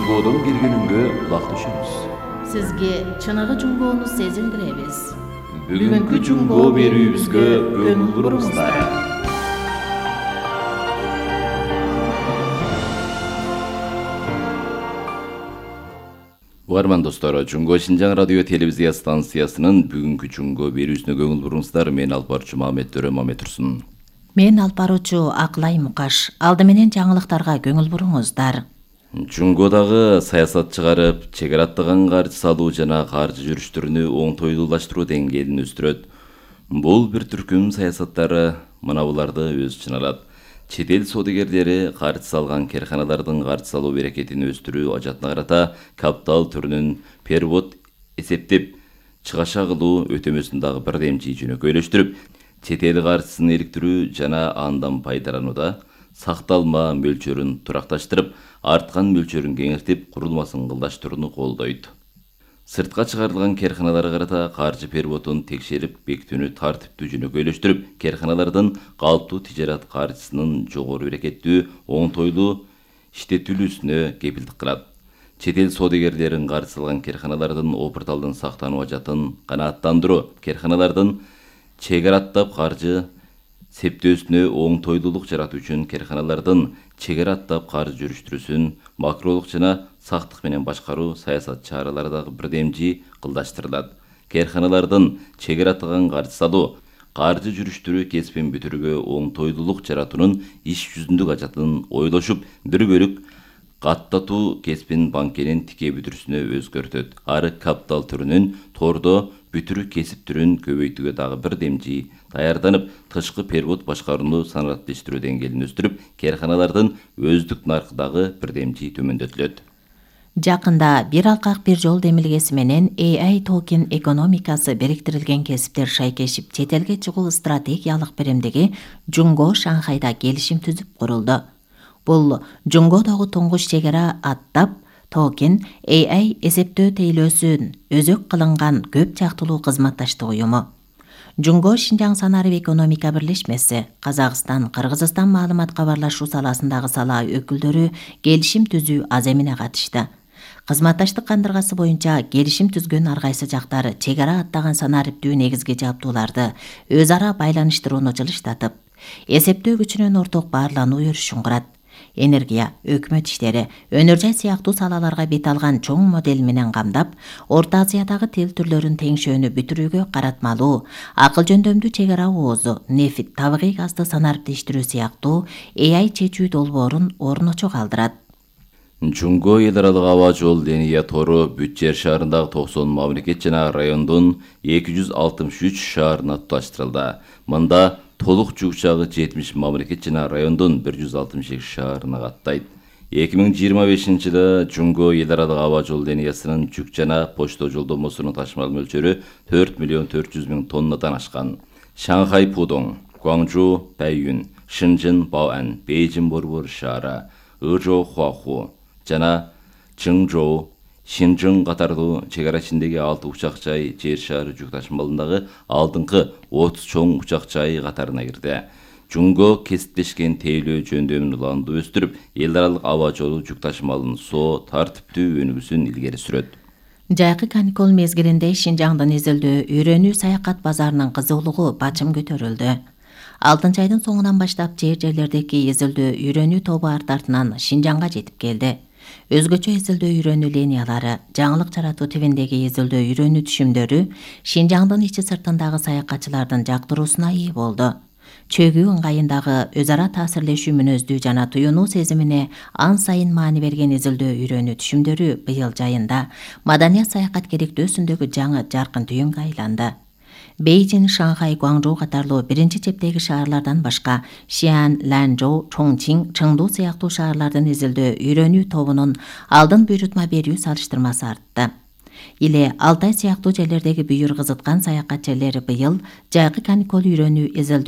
Жунгоодон келгениңге кулак түшөбүз. Сизге чыныгы жунгоону сезиндиребиз. Бүгүнкү жунгоо берүүбүзгө көңүл буруңуздар. Угарман достор, Жунгоо Шинжаң радио телевизия станциясынын бүгүнкү жунгоо берүүсүнө көңүл буруңуздар. Мен алып баруучу Мамет Турсун. Мен алып баруучу Акылай Мукаш. Алды менен жаңылыктарга көңүл буруңуздар. Жунгоодагы саясат чыгарып, чек ара аттаган каржы салуу жана каржы жүрүштөрүнү оңтойлуулаштыруу деңгээлин өстүрөт. Бул бир түркүм саясаттары мына буларды өз ичине алат. Чет эл соодагерлери каржы салган керканалардын каржы салуу берекетин өстүрүү ажатына карата капитал түрүнүн перевод эсептеп чыгаша кылуу өтөмөсүн дагы бирдемчи жөнөкөйлөштүрүп, чет эл каржысын иликтирүү жана андан пайдаланууда сакталма мөлчөрүн туракташтырып, арткан мөлчөрүн кеңейтип, курулмасын кылдаштырууну колдойт. Сыртка чыгарылган керканаларга карата каржы переводун текшерип, бекитүүнү тартиптүү жөнөкөйлөштүрүп, керканалардын калыптуу тижарат каржысынын жогору берекеттүү, оңтойлуу иштетилүүсүнө кепилдик кылат. Чет эл соодагерлерин каржы салган керканалардын опурталдын сактануу ажатын канааттандыруу, керканалардын чек ара аттап каржы септөөсүнө оңтойлуулук жаратуу үчүн керканалардын чек ара аттап каржы жүрүштүрүүсүн макролук жана сактык менен башкаруу саясат чаралары дагы бирдемчи кылдаштырылат. Керканалардын чек ара аттаган каржы салуу, каржы жүрүштүрүү кесипин бүтүрүүгө оңтойлуулук жаратуунун иш жүзүндүк ажатын ойлошуп, бир бөлүк каттатуу кесипин банкенин тике бүтүрүүсүнө өзгөртөт. Ары капитал түрүнүн тордо бүтүрүү кесип түрүн көбөйтүүгө дагы бирдемчи даярданып, тышкы перевод башкарууну санариптештирүү деңгээлин өстүрүп, керканалардын өздүк наркы дагы бирдемчи төмөндөтүлөт. Жакында бир алкак бир жол демилгеси менен AI токен экономикасы бириктирилген кесиптер шайкешип чет элге чыгуу стратегиялык биримдиги Жунгоо Шанхайда келишим түзүп курулду. Бул Жунгоодогу туңгуч чек ара аттап токен AI эсептөө тейлөөсүн өзөк кылынган көп жактылуу кызматташтык уюму. Жунгоо Шинжаң санарип экономика бирлешмеси, Казакстан, Кыргызстан маалымат кабарлашуу саласындагы сала өкүлдөрү келишим түзүү аз эмне катышты. Кызматташтык кандыргасы боюнча келишим түзгөн ар кайсы жактар чек ара аттаган санариптүү негизги жабдууларды өз ара байланыштырууну жылыштатып, эсептөө күчүнүн орток баарлануу өрүшүн курат. Энергия, өкмөт иштери, өнөр жай сыяктуу салаларга бет алган чоң модель менен камдап, Орто Азиядагы тил түрлөрүн теңшөөнү бүтүрүүгө каратмалуу, акыл жөндөмдүү чек ара оозу, нефт, табигый газды санариптештирүү сыяктуу AI чечүү долбоорун орночо калтырат. Жунгоо эл аралык аба жол линия тору бүт жер шаарындагы 90 мамлекет жана райондун 263 шаарына туташтырылды. Мында толук жүк жагы 70 мамлекет жана райондун 162 шаарына каттайт. 2025-жылы Жунгоо эл аралык аба жол линиясынын жүк жана почта жолдомосунун ташымал мөлчөрү 4.400.000 тоннадан ашкан. Шанхай Пудong, Гуаңжу Бэйюн, Шэньчжэн Баоан, Бейжин Борбор шаары, Ыжоу Хуаху жана Чыңжоу, Шинжың катардуу чек ара ичиндеги 6 учак жай жер шаары жүк ташымалындагы алдыңкы 30 чоң учак жай катарына кирди. Жунгоо кесиптешкен тейлөө жөндөмүн уланды өстүрүп, эл аралык аба жолу жүк ташымалынын тартиптүү өнүгүүсүн илгери сүрөт. Жайкы каникул мезгилинде Шинжаңдын изилдөө үйрөнүү саякат базарынын кызуулугу бачым көтөрүлдү. 6 айдын соңунан баштап жерлердеги изилдөө үйрөнүү тобу артынан Шинжаңга жетип келди. Өзгөчө изилдөө үйрөнүү линиялары, жаңылык жаратуу тибиндеги изилдөө үйрөнүү түшүмдөрү Шинжаңдын ичи сыртындагы саякатчылардын жактыруусуна ээ болду. Чөгүү ыңгайындагы өз ара таасирлешүү мүнөздүү жана туюнуу сезимине ан сайын маани берген изилдөө үйрөнүү түшүмдөрү быйыл жайында маданият саякаткерликтөөсүндөгү жаңы жаркын түйүнгө айланды. Бейжин, Шанхай, Гуаңжоу катарлуу биринчи чептеги шаарлардан башка Шиан, Ланчжоу, Чоңчиң, Чыңду сыяктуу шаарлардын изилдөө үйрөнүү тобунун алдын буйрутма берүү салыштырмасы артты. Иле Алтай сыяктуу жерлердеги бүйүр кызыткан саякатчылар быйыл жайкы каникул үйрөнүү изилдөө